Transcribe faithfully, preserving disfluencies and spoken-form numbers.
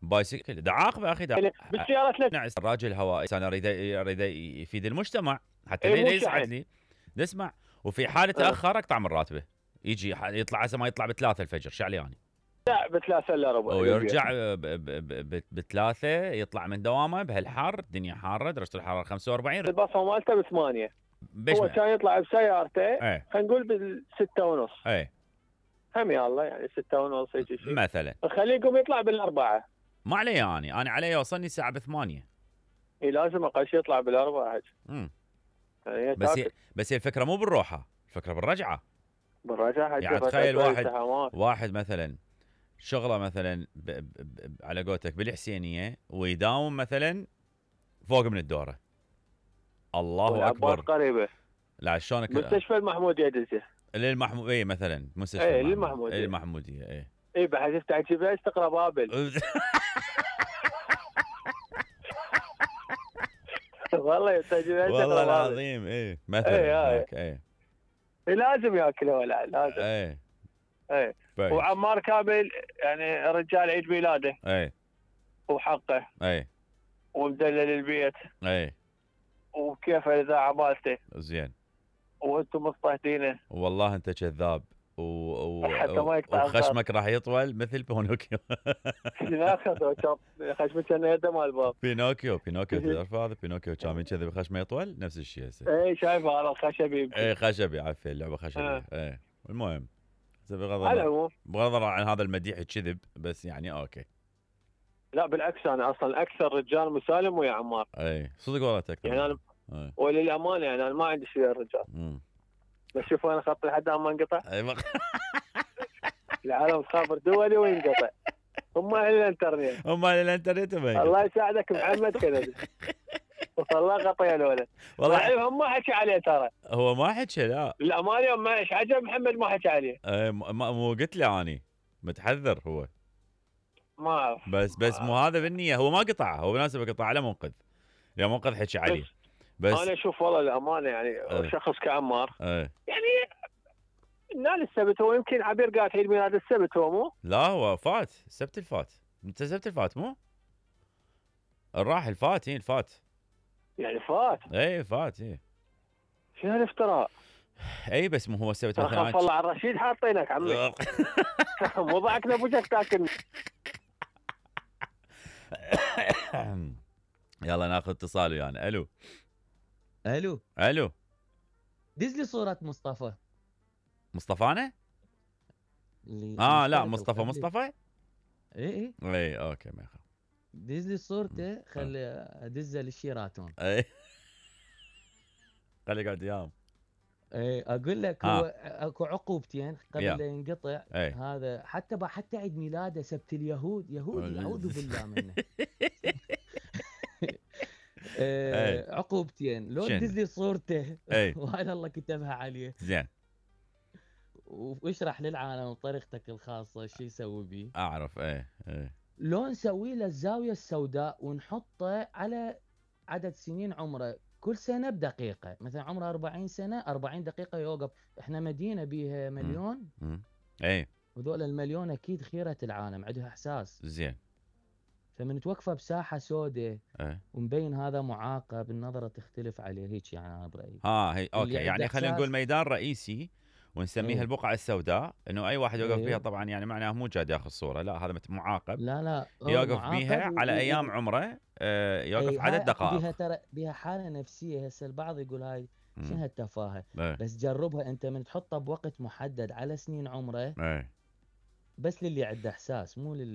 بايسكل دا عاقبه اخي دا بالسيارات لا نعس الراجل هوائي انا اريد اريد يفيد المجتمع حتى إيه ليه مو يسعد شحن. لي نسمع. وفي حال أه. تاخر اقطع من راتبه، يجي يطلع هسه ما يطلع بثلاثة الفجر شو علي يعني؟ لا بثلاثة الا ربع ويرجع ب- ب- ب- بثلاثة يطلع من دوامه بهالحر، الدنيا حاره، درجه الحراره خمسة وأربعين. البصمه مالته بثمانية، بيش هو ما- كان يطلع بسيارته ايه خلينا نقول بالستة ونص، ايه هم يا الله يعني ستة ونص هيك شيء مثلا خليه يقوم يطلع بالأربعة. ما علي يعني انا علي يوصلني الساعه بثمانية. اي لازم اقل شيء يطلع بالأربعة. امم يعني هي بس هي تاكل بس هي الفكره مو بالروحه، الفكره بالرجعه. بالرجعة. يعني تخيل واحد واحد مثلا شغله مثلا ب ب ب على قولتك بالحسينيه ويداوم مثلا فوق من الدوره. الله اكبر. قريبه لا شلونك مستشفى المحموديه دزه للمحمود اي مثلا مستشفى ايه المحمود. للمحموديه اي المحموديه اي اي بحيث تحكي بلاش تقرا بابل. والله تحكي بلاش والله تقرا بابل العظيم اي مثلا اي هناك اي اي لازم ياكل ولا لازم اي اي. كويس. وعمار كامل يعني رجال عيد ميلاده اي وحقه اي ومدلل البيت اي وكيف الاذاعه مالته زين. وانتم مضطهدينه والله انت كذاب و... و... حتى ما يقطع وخشمك راح يطول مثل بينوكيو. لا خذوا خشمه كان يده مال الباب. بينوكيو بينوكيو تعرف هذا بينوكيو كان كذا بخشمه يطول نفس الشيء هسه. اي شايف هذا الخشبي. اي خشبي عفوا اللعبه خشبي. آه. اي المهم بغض على النظر العموم بغض النظر عن هذا المديح الكذب بس يعني اوكي. لا بالعكس انا اصلا اكثر رجال مسالم ويا عمار. اي صدق والله تكثر يعني انا أي. وللامانه يعني انا ما عندي شيء الرجال. امم بس شوفوا انا خطي لحد ما انقطع. اي بق... العالم خابر دولي وينقطع. هم اهل الانترنت. هم الانترنت الله يساعدك محمد كذا. والله قطيع الولد. والله هم ما حكي عليه ترى. هو ما حكى لا. الامانه يوم ما ايش عجب محمد ما حكى عليه. اي ما مو قلت له اني متحذر هو. ما اعرف. بس بس مو هذا بالنية، هو ما قطع، هو بالمناسبة قطع على منقذ. يا منقذ حكي عليه. بس, بس انا اشوف والله الامانه يعني اه شخص كعمار اه يعني نال السبت. هو يمكن عبير قاعد عيد ميلاد السبت هو مو؟ لا هو فات السبت الفات. انت السبت الفات مو؟ الراحل فات اي الفات. يعني فات؟ اي فات اي. شنو هالافتراء؟ اي بس مو هو السبت مثلا. خاف الله على الرشيد حاطينك عمي. مو ضحكنا بوجهك تاكل. يلا ناخذ اتصال ويانا. الو الو الو دز لي صورة مصطفى. مصطفانا؟ اللي اه لا مصطفى مصطفى؟ اي اي اي اوكي ما يخاف. دز لي صورته خلي ادزه للشيراتون. اي خلي يقعد وياهم. اي اقول لك هو اكو عقوبتين قبل لا ينقطع. اي. هذا حتى حتى عيد ميلاده سبت اليهود يهودي اعوذ بالله منه. آه عقوبتين لو تدز لي صورته وهذا الله كتبها عليه. زين. واشرح للعالم بطريقتك الخاصه شو يسوي بيه. اعرف ايه ايه. لو نسوي له الزاويه السوداء ونحطه على عدد سنين عمره كل سنه بدقيقه، مثلا عمره أربعين سنه أربعين دقيقه يوقف. احنا مدينه بيها مليون. امم ايه. وذول المليون اكيد خيره العالم عندها احساس. زين. فمن توقفه بساحه سوداء ايه. ومبين هذا معاقب النظره تختلف عليه هيك يعني انا برايي. ها هي اوكي يعني خلينا نقول ميدان رئيسي ونسميها ايه؟ البقعه السوداء، انه اي واحد يوقف ايه؟ بيها طبعا يعني معناه مو جاد ياخذ صوره، لا هذا معاقب. لا لا يوقف بيها على و... ايام عمره آه يوقف ايه عدد دقائق. بيها ترى بيها حاله نفسيه. هسه البعض يقول هاي شنو هالتفاهه ايه؟ بس جربها انت من تحطها بوقت محدد على سنين عمره ايه؟ بس للي عنده احساس مو لل